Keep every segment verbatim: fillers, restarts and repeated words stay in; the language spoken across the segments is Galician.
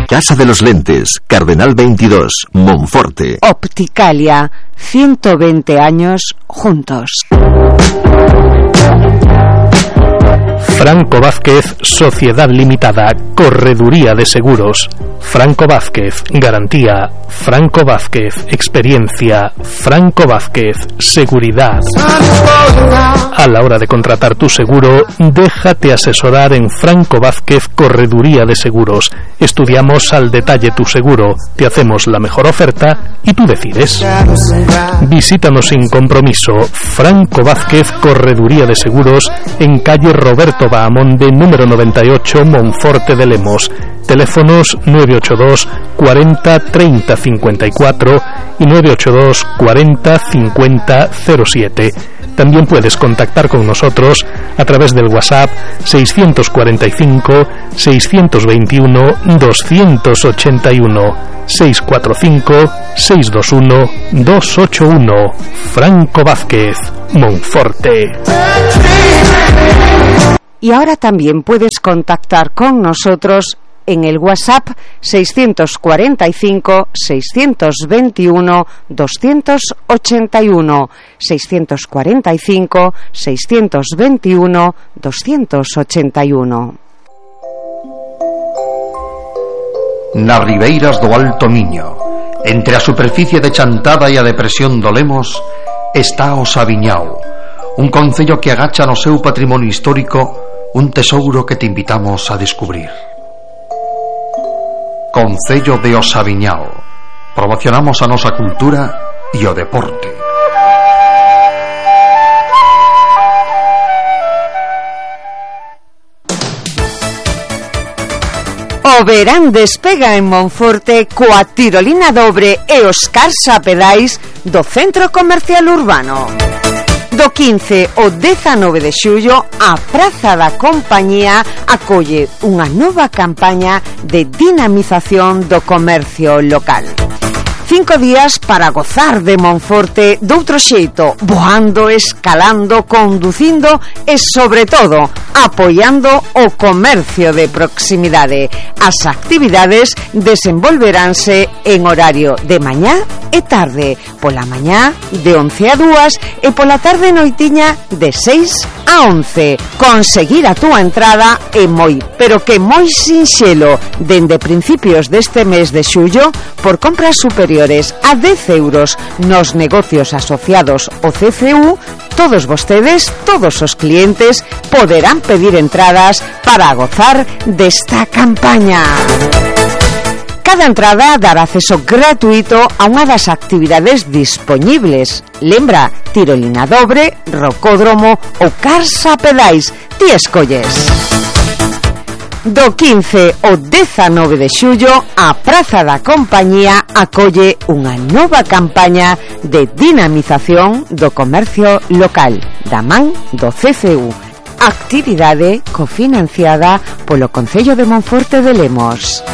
Casa de los Lentes, Cardenal veintidós, Monforte. Opticalia, ciento veinte años juntos. Franco Vázquez, Sociedad Limitada, Correduría de Seguros. Franco Vázquez, garantía. Franco Vázquez, experiencia. Franco Vázquez, seguridad. A la hora de contratar tu seguro, déjate asesorar en Franco Vázquez, Correduría de Seguros. Estudiamos al detalle tu seguro, te hacemos la mejor oferta y tú decides. Visítanos sin compromiso. Franco Vázquez, Correduría de Seguros, en calle Roberto Bahamonde, número noventa y ocho, Monforte de Lemos. Teléfonos nueve ocho dos cuarenta treinta cincuenta y cuatro y nueve ocho dos cuarenta cincuenta cero siete. También puedes contactar con nosotros a través del WhatsApp seiscientos cuarenta y cinco seiscientos veintiuno doscientos ochenta y uno, seiscientos cuarenta y cinco seiscientos veintiuno doscientos ochenta y uno. Franco Vázquez, Monforte. Y ahora también puedes contactar con nosotros en el WhatsApp seiscientos cuarenta y cinco seiscientos veintiuno doscientos ochenta y uno, seiscientos cuarenta y cinco seiscientos veintiuno doscientos ochenta y uno. Nas ribeiras do Alto Miño, entre a superficie de Chantada e a depresión do Lemos, está o Sabiñao, un concello que agacha no seu patrimonio histórico un tesouro que te invitamos a descubrir. Concello de Osaviñao. Promocionamos a nosa cultura e o deporte. O verán despega en Monforte coa tirolina dobre e os cars a pedais do Centro Comercial Urbano. Do quince ao dezanove de xullo, a Praza da Compañía acolle unha nova campaña de dinamización do comercio local. Cinco días para gozar de Monforte doutro xeito, voando, escalando, conducindo e, sobre todo, apoiando o comercio de proximidade. As actividades desenvolveránse en horario de mañá e tarde, pola mañá de once a dúas e pola tarde noitiña de seis a once. Conseguir a túa entrada é moi, pero que moi sinxelo, dende principios deste mes de xullo, por compras superiores a dez euros nos negocios asociados ao C C U, todos vostedes, todos os clientes, poderán pedir entradas para gozar desta campaña. Cada entrada dará acceso gratuito a unha das actividades dispoñibles. Lembra, tirolina dobre, rocódromo ou cars a pedais. Ti escolles. Do quince ao dezanove de xullo, a Praza da Compañía acolle unha nova campaña de dinamización do comercio local, da man do C C U. Actividade cofinanciada polo Concello de Monforte de Lemos.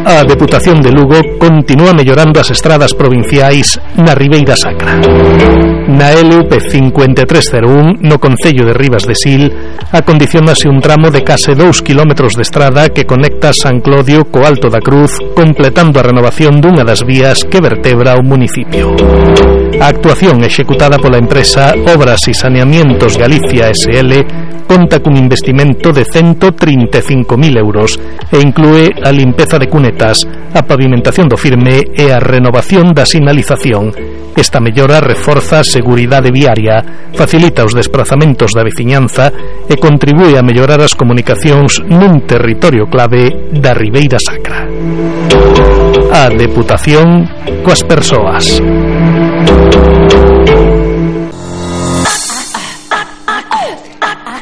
A Deputación de Lugo continúa mellorando as estradas provinciais na Ribeira Sacra. Na L U P cincuenta e tres cero un, no concello de Ribas de Sil, acondicionase un tramo de case dous kilómetros de estrada que conecta San Clodio co Alto da Cruz, completando a renovación dunha das vías que vertebra o municipio. A actuación executada pola empresa Obras e Saneamientos Galicia S L conta cun investimento de ciento trinta e cinco mil euros e inclúe a limpeza de cunetas, a pavimentación do firme e a renovación da sinalización. Esta mellora reforza a seguridade viaria, facilita os desplazamentos da veciñanza e contribúe a mellorar as comunicacións nun territorio clave da Ribeira Sacra. A Deputación coas persoas.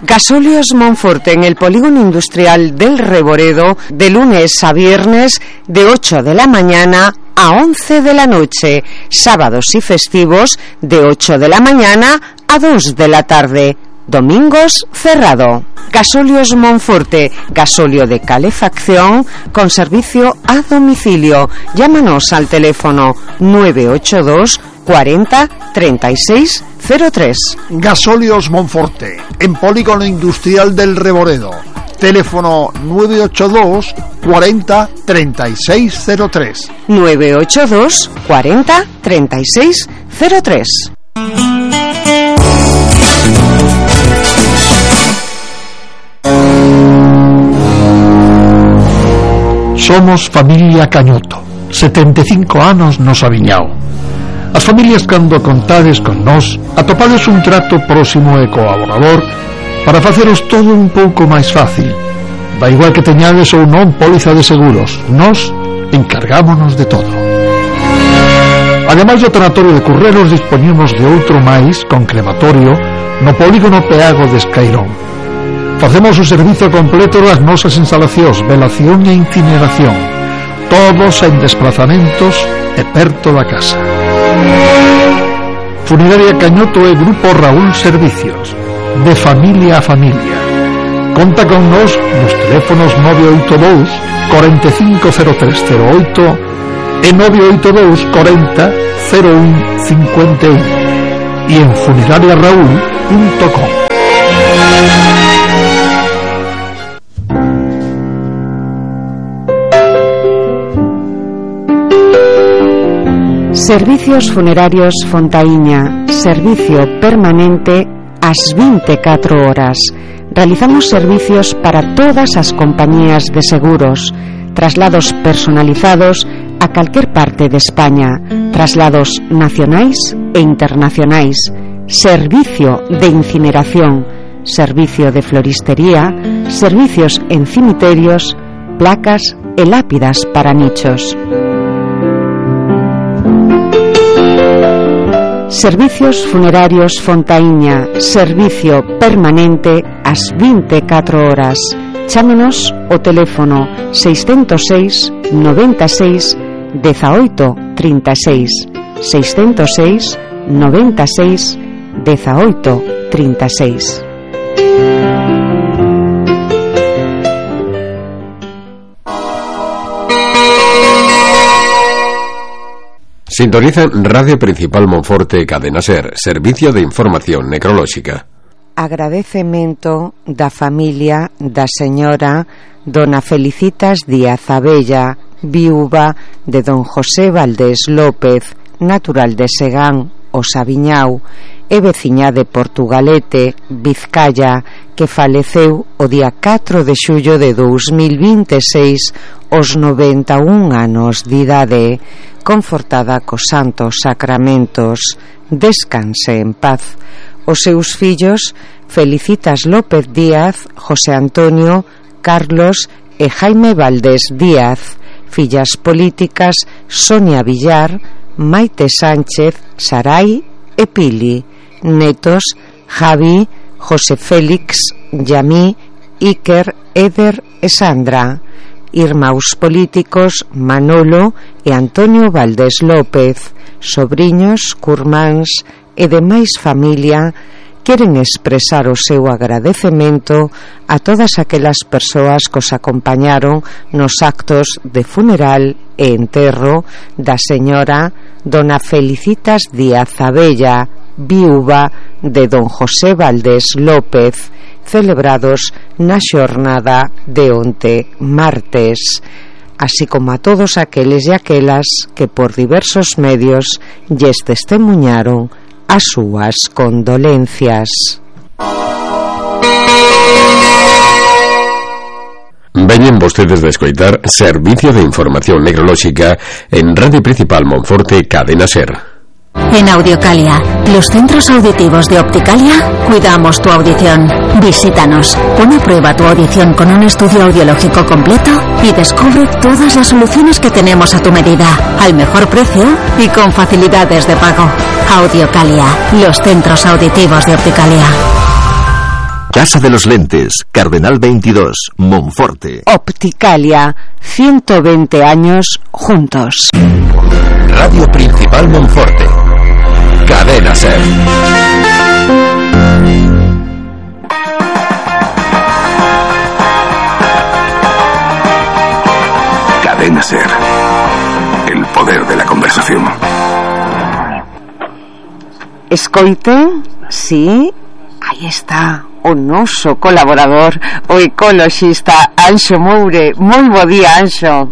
Gasóleos Monforte en el polígono industrial del Reboredo, de lunes a viernes de ocho de la mañana a once de la noche, sábados y festivos de ocho de la mañana a dos de la tarde, domingos cerrado. Gasóleos Monforte, gasóleo de calefacción con servicio a domicilio. Llámanos al teléfono nueve ocho dos cuarenta treinta y seis cero tres. Gasóleos Monforte, en polígono industrial del Reboredo. Teléfono nueve ocho dos cuarenta treinta y seis cero tres. nueve ocho dos cuarenta treinta y seis cero tres. Somos familia Cañoto, setenta e cinco anos nos aviñao. As familias cando contades con nós atopades un trato próximo e colaborador para faceros todo un pouco máis fácil. Da igual que teñades ou non póliza de seguros, nós encargámonos de todo. Ademais do tanatorio de Currelos, dispoñemos de outro máis con crematorio no polígono Peago de Escairón. Facemos o servizo completo das nosas instalacións, velación e incineración, todos en desplazamentos e perto da casa. Funeraria Cañoto e Grupo Raúl Servicios, de familia a familia. Conta con nos nos teléfonos nove oito dous cuarenta e cinco cero tres cero oito e nove oito dous cuarenta cero un cincuenta y uno e en funeraria raúl punto com. Servicios Funerarios Fontaíña, servicio permanente ás vinte e catro horas. Realizamos servicios para todas as compañías de seguros, traslados personalizados a calquer parte de España, traslados nacionais e internacionais, servicio de incineración, servicio de floristería, servicios en cimiterios, placas e lápidas para nichos. Servicios Funerarios Fontaíña, servicio permanente ás vinte e catro horas. Chámenos o teléfono seiscentos seis noventa e seis dezaoito trinta e seis, seiscentos seis noventa e seis dezaoito trinta e seis. Sintoniza Radio Principal Monforte Cadena Ser, servicio de información necrolóxica. Agradecemento da familia da señora Dona Felicitas Díaz Abella, viúva de don José Valdés López, natural de Segán, o Sabiñao, e veciña de Portugalete, Vizcaya, que faleceu o día catro de xullo de dous mil vinte e seis aos noventa e un anos de idade, confortada cos santos sacramentos. Descanse en paz. Os seus fillos, Felicitas López Díaz, José Antonio, Carlos e Jaime Valdés Díaz. Fillas políticas, Sonia Villar, Maite Sánchez, Sarai e Pili. Netos, Javi, José Félix, Yamí, Iker, Eder e Sandra. Irmãos políticos, Manolo e Antonio Valdés López. Sobriños, curmáns e demais familia queren expresar o seu agradecemento a todas aquelas persoas que os acompañaron nos actos de funeral e enterro da señora Dona Felicitas Díaz Abella, viúva de don José Valdés López, celebrados na xornada de onte martes, así como a todos aqueles e aquelas que por diversos medios lles testemuñaron as súas condolencias. Veñen vostedes de escoitar Servicio de Información Necrolóxica en Radio Principal Monforte Cadena Ser. En Audiocalia, los centros auditivos de Opticalia, cuidamos tu audición. Visítanos, pon a prueba tu audición con un estudio audiológico completo y descubre todas las soluciones que tenemos a tu medida, al mejor precio y con facilidades de pago. Audiocalia, los centros auditivos de Opticalia. Casa de los Lentes, Cardenal veintidós, Monforte. Opticalia, ciento veinte años juntos. Radio Principal Monforte. Cadena Ser. Cadena Ser. El poder de la conversación. Escoiten, sí, ahí está. o noso colaborador, o ecoloxista Anxo Moure. Moi bo día, Anxo.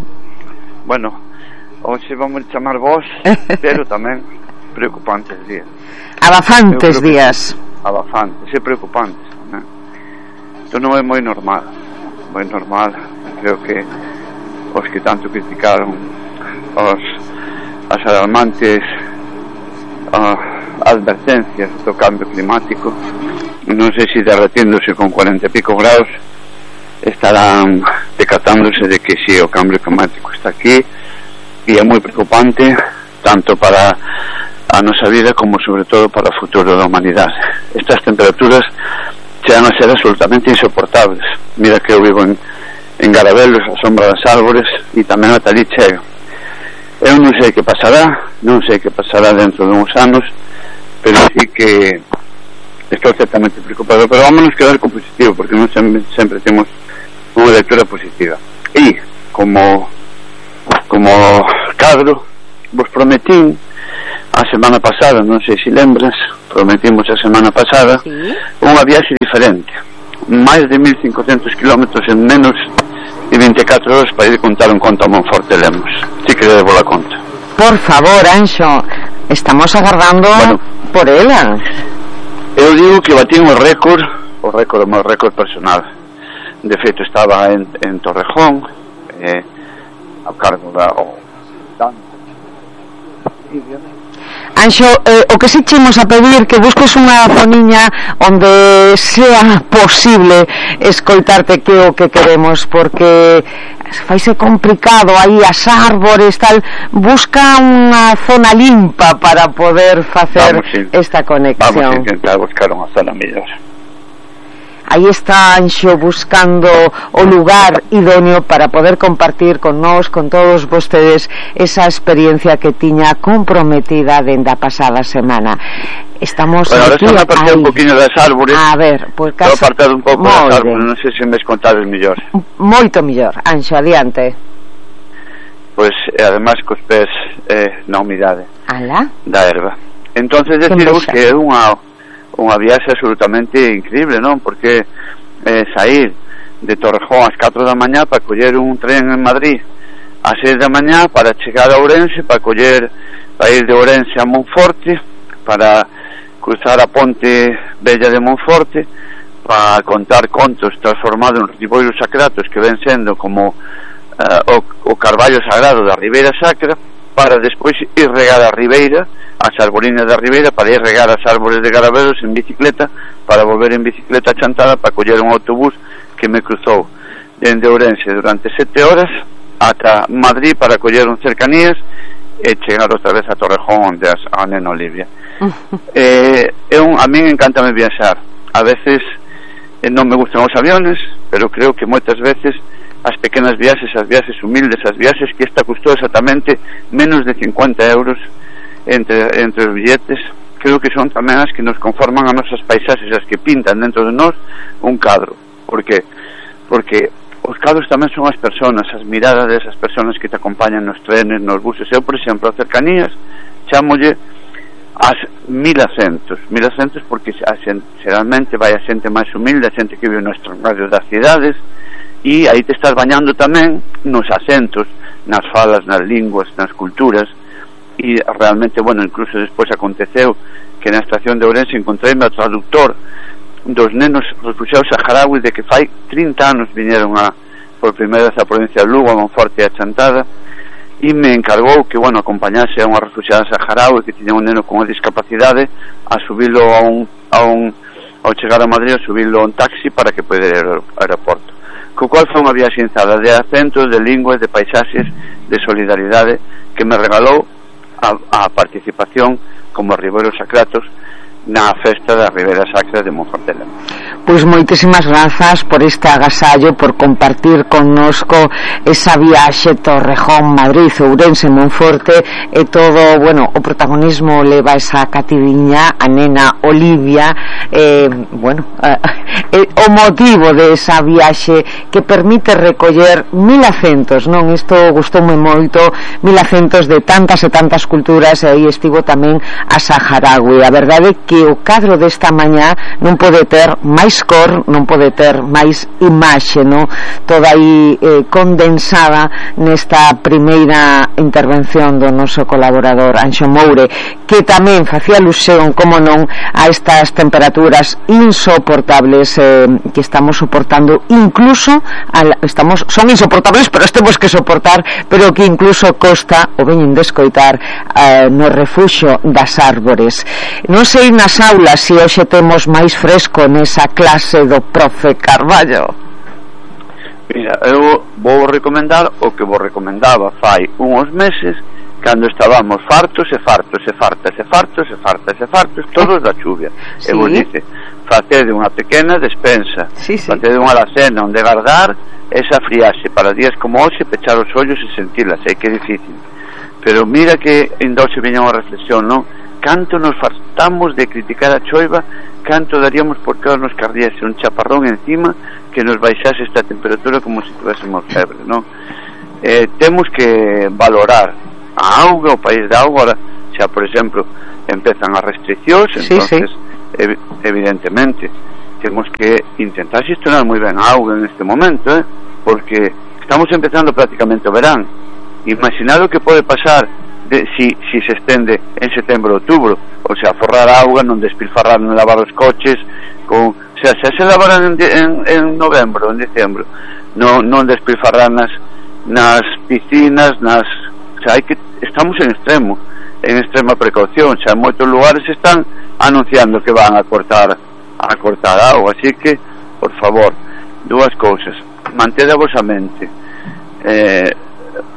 Bueno, hoxe vamos chamar vos, pero tamén preocupantes días. Abafantes días. Abafantes e preocupantes tamén. Isto non é moi normal, moi normal. Creo que os que tanto criticaron os, as alarmantes uh, advertencias do cambio climático, non sei se derretíndose con cuarenta e pico graus, estarán decatándose de que si, o cambio climático está aquí e é moi preocupante tanto para a nosa vida como sobre todo para o futuro da humanidade. Estas temperaturas chegan a ser absolutamente insoportables. Mira que eu vivo en, en Garabelos, a sombra das árbores, e tamén ata ali chega. Eu non sei que pasará, non sei que pasará dentro de uns anos, pero sí que estou certamente preocupado. Pero vámonos quedar con positivo, porque non sempre, sempre temos unha lectura positiva. E como como cadro vos prometín a semana pasada, non sei se lembras, prometimos a semana pasada, ¿sí?, unha viaxe diferente, máis de mil cincocentos kilómetros en menos de vinte e catro horas para ir contar un conto a Monforte Lemos. Si que debo la conta. Por favor, Anxo, estamos agardando, bueno, por ela. Eu digo que batín o récord, o récord, o meu récord personal. De feito, estaba en, en Torrejón, eh, a cargo da o, Anxo, eh, o que si chemos a pedir que busques unha zoniña onde sea posible escoitarte, que o que queremos, porque faise complicado aí as árbores, tal. Busca unha zona limpa para poder facer vamos, esta conexión. Vamos a intentar buscar unha zona mellor. Aí está Anxo buscando o lugar idóneo para poder compartir con nós, con todos vostedes, esa experiencia que tiña comprometida dende a pasada semana. Estamos bueno, aquí. Bueno, ahora apartado un poquinho das árbores. A ver, pues casi... Estou apartado un pouco das árbores, non sei se me escontades mellor. Moito mellor, Anxo, adiante. Pois, pues, ademais, cos pés eh, na humidade. Ala? Da erva. Entonces, deciros que é unha... unha viaxe absolutamente increíble, non? Porque eh, sair de Torrejón ás catro da mañá para coller un tren en Madrid ás seis da mañá para chegar a Ourense, para coller para ir de Ourense a Monforte, para cruzar a ponte Bella de Monforte, para contar contos transformados en riboiros sacratos que ven sendo como uh, o, o carballo sagrado da Ribeira Sacra, para despois ir regar a Ribeira, as arborinas da Ribeira, para ir regar as árbores de Garabelos en bicicleta, para volver en bicicleta a Chantada para coller un autobús que me cruzou dende Ourense durante sete horas ata Madrid para coller un cercanías e chegar outra vez a Torrejón onde as, a nena Olivia. eh, é un, a min encántame viaxar. A veces eh, non me gustan os aviones, pero creo que moitas veces as pequenas viaxes, as viaxes humildes, as viaxes que esta custou exactamente menos de cincuenta euros entre, entre os billetes, creo que son tamén as que nos conforman a nosas paisaxes, as que pintan dentro de nós un cadro. Por que? Porque os cadros tamén son as personas, as miradas desas personas que te acompañan nos trenes, nos buses. Eu, por exemplo, a cercanías chámolle as mil acentos mil acentos porque a xente, xeralmente vai a xente máis humilde, a xente que vive nos radios das cidades, e aí te estás bañando tamén nos acentos, nas falas, nas linguas, nas culturas. E realmente, bueno, incluso despois aconteceu que na estación de Ourense encontreime ao traductor dos nenos refugiados saharauis de que fai trinta anos viñeron a, por primeira vez a provincia de Lugo, a Monforte e a Chantada, e me encargou que, bueno, acompañase a unha refugiada saharaui que tiña un neno con unha discapacidade a subilo a un, a un ao chegar a Madrid, a subilo a un taxi para que poida ir ao aeroporto. Co cual foi unha viaxe inzada de acentos, de linguas, de paisaxes, de solidaridade, que me regalou a, a participación como Ribeiro Sacratos na festa da Ribeira Sacra de Monforte Lemos. Pois moitísimas grazas por este agasallo, por compartir connosco esa viaxe Torrejón, Madrid, Ourense, Monforte, e todo, bueno, o protagonismo leva esa cativiña, a nena Olivia, eh, bueno, eh, o motivo de esa viaxe que permite recoller mil acentos, non? Isto gustoume moito, mil acentos de tantas e tantas culturas, e aí estivo tamén a saharaui. A verdade que que o cadro desta mañá non pode ter máis cor, non pode ter máis imaxe, non? Toda aí eh, condensada nesta primeira intervención do noso colaborador Anxo Moure, que tamén facía alusión, como non, a estas temperaturas insoportables eh, que estamos soportando, incluso al, estamos, son insoportables, pero temos que soportar, pero que incluso costa, o veñen de escoitar, eh, no refuxo das árbores. Non sei nas aulas se hoxe temos máis fresco nesa clase do profe Carballo. Mira, eu vou recomendar o que vos recomendaba fai uns meses, cando estábamos fartos e fartos e fartas e fartos e fartas e fartos todos da chuvia. Sí. E vos dice, facede unha pequena despensa, sí, sí. facede unha alacena onde guardar esa friaxe para días como hoxe, pechar os ollos e sentilas. Sei que é difícil, pero mira que ainda hoxe viña unha reflexión, non? Canto nos fartamos de criticar a choiva, canto daríamos por que nos cardiese un chaparrón encima que nos baixase esta temperatura como se tivésemos febre, non? Eh, temos que valorar a auga, o país da auga. Ahora, xa por exemplo empezan as restriccións, sí, entonces sí. Ev evidentemente temos que intentar xestionar moi ben a auga en este momento, eh? Porque estamos empezando prácticamente o verán. Imaginad o que pode pasar de, si, si se estende en setembro, outubro, o sea, forrar a auga, non despilfarrar, non lavar os coches con, o sea, xa se lavaran en, en, en novembro, en diciembro, non, non despilfarrar nas, nas piscinas, nas, o sea, hai que, estamos en extremo, en extrema precaución. Xa en moitos lugares están anunciando que van a cortar a cortar auga, así que, por favor, dúas cousas: mantede a vosa mente, eh,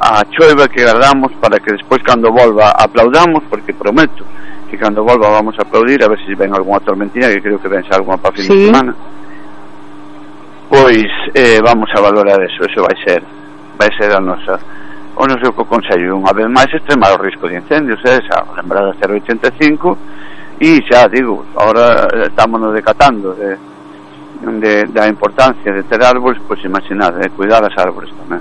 a choiva que guardamos para que despois, cando volva, aplaudamos, porque prometo que cando volva vamos a aplaudir, a ver se ven algunha tormentina, que creo que ven algunha para fin sí. de semana. Pois eh, vamos a valorar eso, eso vai ser vai ser a nosa o noso consello, unha vez máis, extremar o risco de incendios, eh, xa lembrada cero oitenta e cinco, e xa digo, ahora estamos nos decatando de, de, da importancia de ter árbores, pois imaginad, de cuidar as árbores tamén.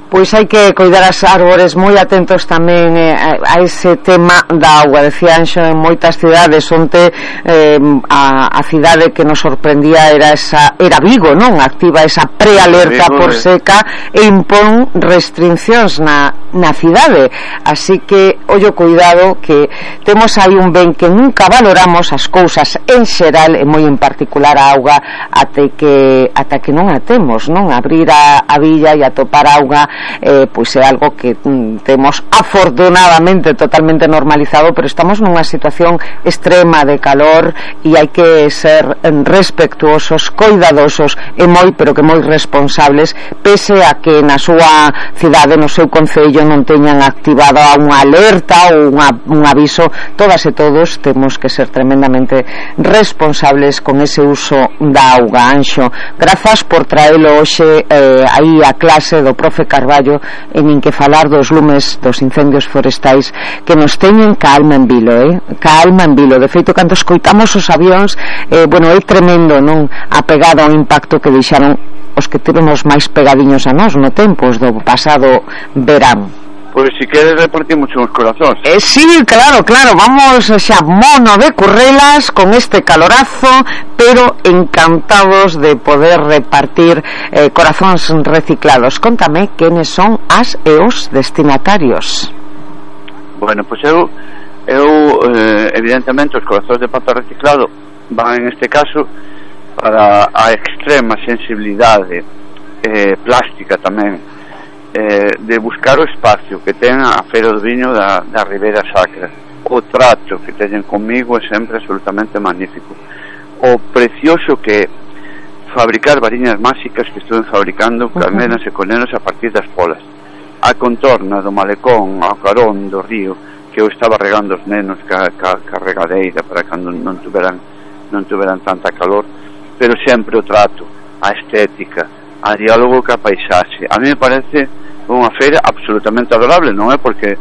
Pois hai que coidar as árbores, moi atentos tamén eh, a ese tema da auga. Decía Anxo, en moitas cidades onte eh, a, a cidade que nos sorprendía era esa era Vigo, non? Activa esa prealerta Vigo, por seca e impón restriccións na, na cidade. Así que, ollo cuidado, que temos aí un ben que nunca valoramos as cousas en xeral e moi en particular a auga ata que, ata que non a temos, non? Abrir a, a villa e atopar auga Eh, pois é algo que mm, temos afortunadamente totalmente normalizado, pero estamos nunha situación extrema de calor e hai que ser respetuosos, coidadosos e moi, pero que moi responsables, pese a que na súa cidade, no seu concello, non teñan activado unha alerta ou unha, un aviso. Todas e todos temos que ser tremendamente responsables con ese uso da auga. Anxo, grazas por traelo hoxe eh, aí a clase do profe Carballo, en nin que falar dos lumes dos incendios forestais que nos teñen ca alma en vilo, eh? ca alma en vilo. De feito, cando escoitamos os avións, eh, bueno, é tremendo, non? Apegado ao impacto que deixaron os que tivemos máis pegadiños a nós no tempo, os do pasado verán. Pois si queres repartimos uns corazóns. Eh, sí, claro, claro, vamos xa mono de currelas con este calorazo, pero encantados de poder repartir eh, corazóns reciclados. Contame quenes son as e os destinatarios. Bueno, pois eu, eu eh, evidentemente os corazóns de papel reciclado van en este caso para a extrema sensibilidade eh, plástica tamén, Eh, de buscar o espacio que ten a Feira do Viño da, da Ribeira Sacra. O trato que teñen comigo é sempre absolutamente magnífico. O precioso que fabricar variñas máxicas que estuven fabricando, calmenas e conenos a partir das polas. A contorna do malecón, ao carón do río, que eu estaba regando os nenos ca, ca, ca regadeira para cando non tuveran, non tuveran tanta calor, pero sempre o trato, a estética, a diálogo ca paisaxe. A mí me parece unha feira absolutamente adorable, non é porque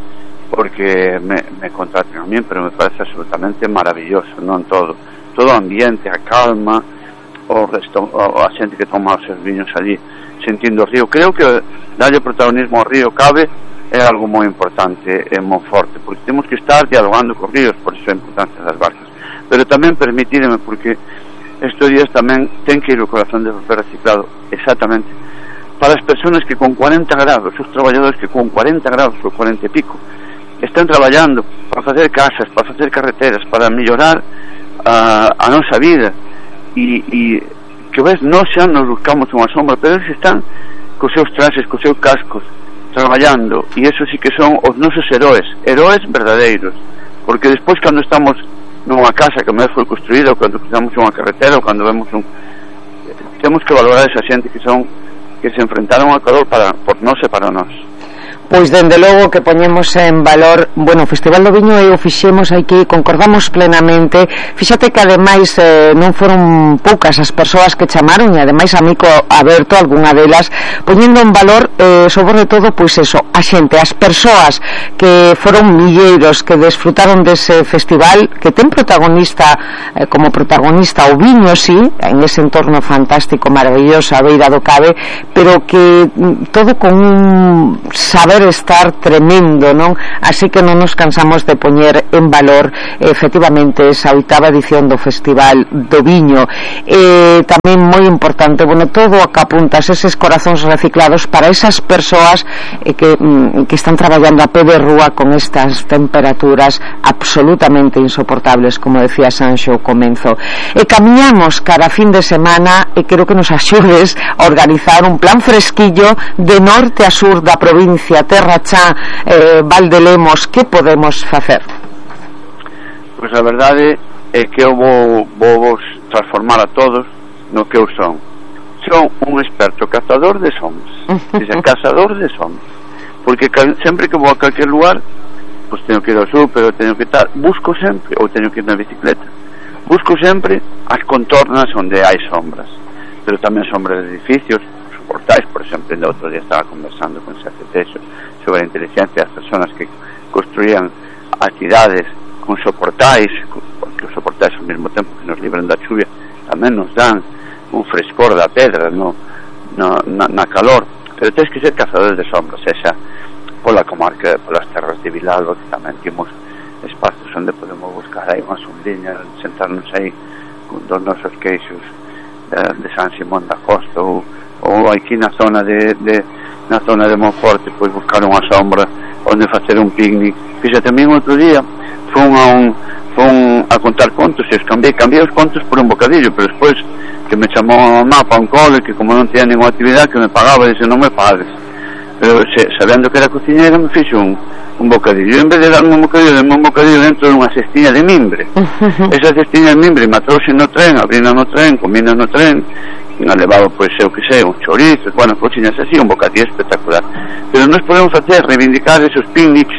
porque me, me contraten a mí, pero me parece absolutamente maravilloso, non todo todo o ambiente, a calma, o resto, o, a xente que toma os seus viños allí sentindo o río. Creo que darlle protagonismo ao río cabe é algo moi importante en Monforte, porque temos que estar dialogando cos ríos, por iso a importancia das barcas. pero tamén permitirme, porque estes días tamén ten que ir o corazón de papel reciclado, exactamente, para as persoas que con cuarenta grados, os traballadores que con cuarenta grados ou cuarenta e pico están traballando para facer casas, para facer carreteras, para mellorar a, a nosa vida, e, e que ves, nós xa nos buscamos unha sombra, pero eles están cos seus traxes, cos seus cascos, traballando, e eso sí que son os nosos heróis, heróis verdadeiros, porque despois cando estamos nunha casa que me foi construída, ou cando cruzamos unha carretera, ou cando vemos un... temos que valorar esa xente que son que se enfrentaron ao calor para, por nós e para nós. Pois dende logo que poñemos en valor, bueno, o Festival do Viño e o fixemos aquí, concordamos plenamente. Fíxate que ademais eh, non foron poucas as persoas que chamaron, e ademais amigo aberto algunha delas, poñendo en valor eh, sobre todo, pois eso, a xente, as persoas que foron milleiros, que desfrutaron dese festival, que ten protagonista eh, como protagonista o viño, sí, en ese entorno fantástico, maravilloso, a beira do Cabe, pero que todo con un saber estar tremendo, non? Así que non nos cansamos de poñer en valor efectivamente esa oitava edición do Festival do Viño. Eh, tamén moi importante, bueno, todo o que apuntas, eses corazóns reciclados para esas persoas eh, que, mm, que están traballando a pé de rúa con estas temperaturas absolutamente insoportables, como decía Sanxo ao comenzo. E camiñamos cara a fin de semana, e quero que nos axudes a organizar un plan fresquillo de norte a sur da provincia, Terra Chá, eh, Valdelemos. Que podemos facer? Pois a verdade é que eu vou, vou vos transformar a todos no que eu son. Son un experto cazador de sombras, dice, cazador de sombras, porque sempre que vou a calquer lugar, pois teño que ir ao súper, teño que estar, busco sempre, ou teño que ir na bicicleta, busco sempre as contornas onde hai sombras, pero tamén sombras de edificios, portais, por exemplo, el outro día estaba conversando con Sergio Texo sobre a inteligencia das persoas que construían as cidades con soportais, porque os soportais ao mesmo tempo que nos libran da chuvia tamén nos dan un frescor da pedra no, no, na, na calor, pero tens que ser cazadores de sombras, esa pola comarca, polas terras de Vilalba, que tamén temos espacios onde podemos buscar aí unha sombriña, sentarnos aí con dos nosos queixos de, de San Simón da Costa, ou ou aquí na zona de, de na zona de Monforte, pois buscar unha sombra onde facer un picnic. Fíxate, a mí outro día fun a un fun a contar contos, e os cambiei, cambiei os contos por un bocadillo, pero despois que me chamou a mamá para un cole, que como non tenía ninguna actividade, que me pagaba, dice, non me pagues, pero se, sabendo que era cociñera, me fixo un, un bocadillo, e en vez de darme un bocadillo, dame un bocadillo dentro de unha cestiña de mimbre. Esa cestiña de mimbre me trouxe no tren, abrina no tren, comina no tren, e me levaba, pois, eu que sei, un chorizo, bueno, cociñas así, un bocadillo espectacular. Pero nós podemos facer, reivindicar esos picnics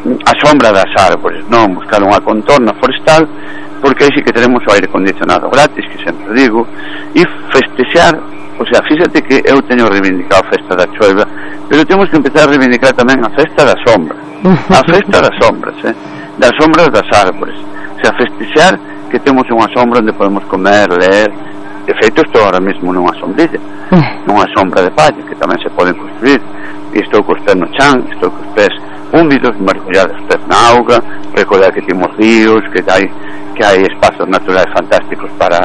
a sombra das árbores, non buscar unha contorna forestal, porque aí sí que tenemos o aire acondicionado gratis, que sempre digo, e festexar. O sea, fíxate que eu teño reivindicado a festa da choiva, pero temos que empezar a reivindicar tamén a festa da sombra, a festa das sombras, eh? das sombras das árbores, o sea, festexar que temos unha sombra onde podemos comer, ler. De feito, estou ahora mesmo nunha sombrilla, nunha sombra de palla, que tamén se poden construir, e estou cos pés no chan, estou cos pés húmidos, mergullar os pés na auga, recordar que temos ríos, que hai, que hai espazos naturais fantásticos para,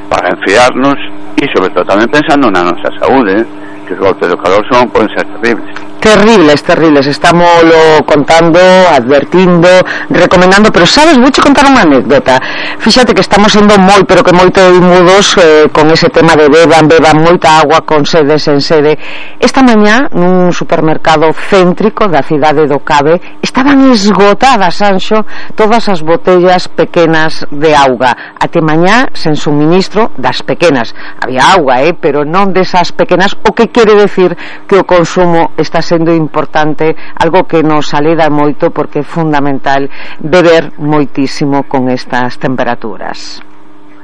para enfriarnos, e sobre todo tamén pensando na nosa saúde, eh? que os golpes do calor son, poden ser terribles. Terribles, terribles, estámoslo contando, advertindo, recomendando, pero sabes, vouche contar unha anécdota. Fíxate que estamos sendo moi, pero que moito imudos eh, con ese tema de beban, beban moita agua con sede, sen sede. Esta mañá, nun supermercado céntrico da cidade do Cabe, estaban esgotadas, Sanxo, todas as botellas pequenas de auga. Até mañá, sen suministro das pequenas. Había auga, eh, pero non desas pequenas, o que quere decir que o consumo está sendo importante, algo que nos aleda moito, porque é fundamental beber moitísimo con estas temperaturas.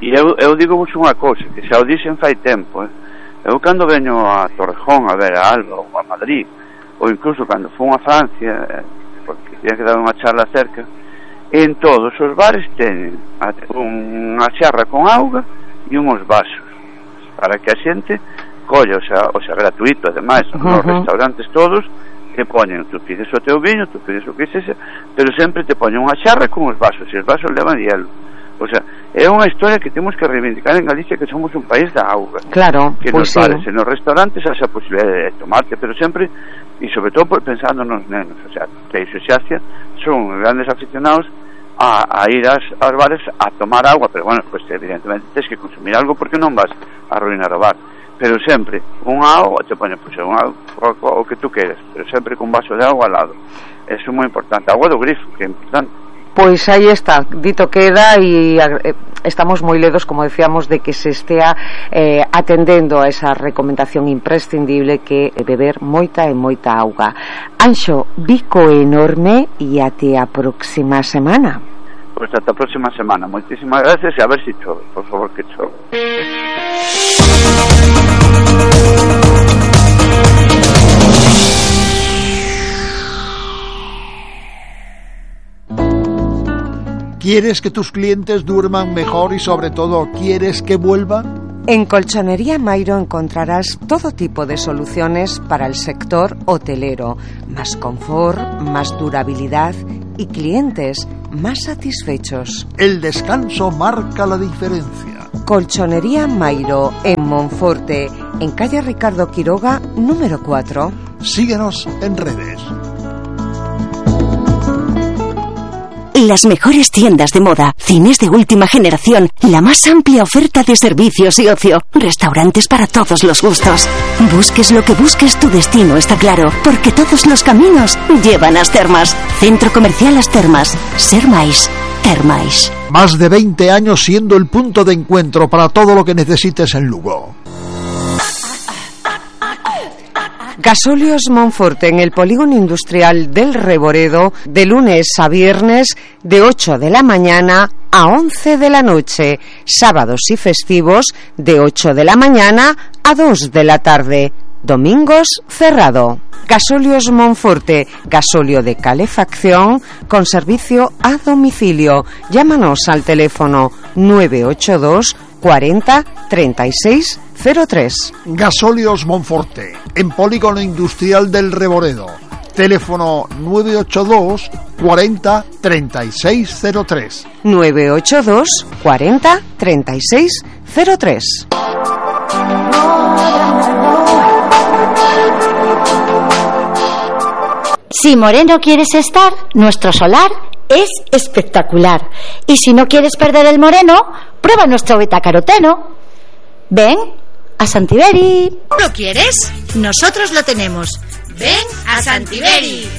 E eu, eu digo vos unha cousa, que xa o dixen fai tempo, eh? Eu cando veño a Torrejón a ver a Alba ou a Madrid, ou incluso cando fun a Francia, eh, porque tiña que dar unha charla cerca, en todos os bares teñen unha xarra con auga e uns vasos para que a xente colla, o sea, o sea, gratuito, ademais, uh -huh. Nos restaurantes todos te poñen, tú pides o teu viño, tú pides o que sexa, pero sempre te poñen unha xarra con os vasos, e os vasos levan hielo. O sea, é unha historia que temos que reivindicar en Galicia, que somos un país da auga. Claro, que pues nos bares sí. e nos restaurantes haxa a posibilidade de tomarte, pero sempre, e sobre todo por pensando nos nenos, o sea, Teixo e Xacia son grandes aficionados a, a ir ás, aos bares a tomar agua, pero bueno, pues evidentemente tens que consumir algo porque non vas a arruinar o bar, pero sempre unha auga, te pone pues, unha auga, o que tú queres, pero sempre con un vaso de agua al lado. Eso é moi importante, agua do grifo, que é importante. Pois aí está, dito queda, e eh, estamos moi ledos, como decíamos, de que se estea eh, atendendo a esa recomendación imprescindible que é beber moita e moita auga. Anxo, bico enorme e até a próxima semana. Pois ata a próxima semana, moitísimas gracias e a ver se chove, por favor que chove. ¿Quieres que tus clientes duerman mejor y sobre todo quieres que vuelvan? En Colchonería Mairo encontrarás todo tipo de soluciones para el sector hotelero, más confort, más durabilidad y clientes más satisfechos. El descanso marca la diferencia. Colchonería Mairo en Monforte, en calle Ricardo Quiroga, número cuatro. Síguenos en redes. Las mejores tiendas de moda, cines de última generación, la más amplia oferta de servicios y ocio, restaurantes para todos los gustos. Busques lo que busques, tu destino está claro, porque todos los caminos llevan a As Termas. Centro Comercial As Termas. Ser máis, ter máis. Más de veinte años siendo el punto de encuentro para todo lo que necesites en Lugo. Gasóleos Monforte en el polígono industrial del Reboredo, de lunes a viernes de ocho de la mañana a once de la noche, sábados y festivos de ocho de la mañana a dos de la tarde, domingos cerrado. Gasóleos Monforte, gasóleo de calefacción con servicio a domicilio. Llámanos al teléfono nueve ocho dos cuarenta treinta y seis cero tres. Gasóleos Monforte, en polígono industrial del Reboredo. Teléfono nueve ocho dos cuarenta treinta y seis cero tres. nueve ocho dos cuarenta treinta y seis cero tres. Si moreno quieres estar, nuestro solar es espectacular. Y si no quieres perder el moreno, prueba nuestro betacaroteno. Ven a Santiberi. ¿Lo quieres? Nosotros lo tenemos. Ven a Santiberi.